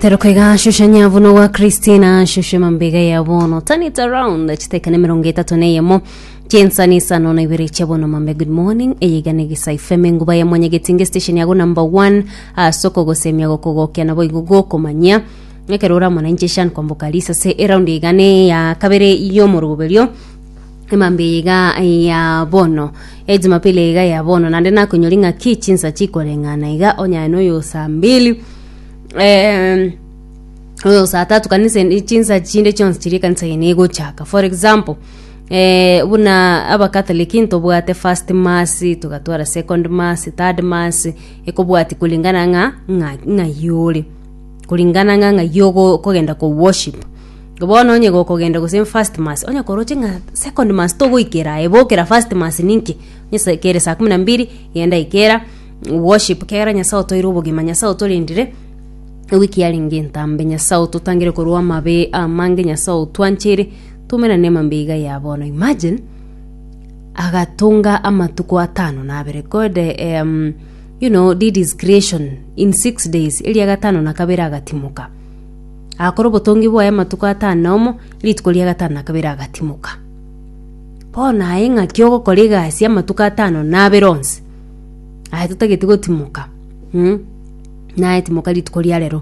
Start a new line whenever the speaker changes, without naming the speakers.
Teroka iga shusha nyavuno wa Christina shusha mambega ya bono turn it around chiteka ne mirongo etato na eyemo chinsa ni isano na ibere chia bono mambe good morning eye iga ne gisa ifeme nguba ya mwanyagetinge station yago number one ase okogosemia gokogokia nabo igo gokomanyia ekero ore amo nainche Shan Kwamboka Lisa ase eraundi iga ne ya kabere y'omoroberio emambia eye iga ya bono ejumapili eye iga ya bono naende nakonyori ng'aki chinsa chikoreng'ana iga onye noyo saa mbili eh, oyo saa tatu kanisa ende- chinsa chinde chionsi chiria ekanisa eye negochaka for example eh, buna abakatholiki ntobwate first mass togatwara second mass third mass ekobwati kulingana ng'a ng'a ng'ai ore kulingana ng'a ng'ai ogo okogenda ko worship bono onye gokogenda gose first mass onye koroche ng'a second mass togoikera aye bokera first mass ninki onye sa kere saa kumi na mbili genda ikera Worship kera Nyasae otoire obogima Nyasae otorendire ewiki yarenge entambe Nyasae ototangire korwa amabe amange Nyasae otwancheire tumerane amambe iga ya bono imagine agatonga amatuko atano na abere God um, you know did his creation in 6 days eria gatano na kabere agatimoka agakora obotongi bwaye amatuko atano na omo rituko ria gatano na kabere agatimoka bono aye ng'aki ogokora egasi amatuko atano na abere onsi Aye totageti gotimoka, mm, naye timoka rituko ria rero.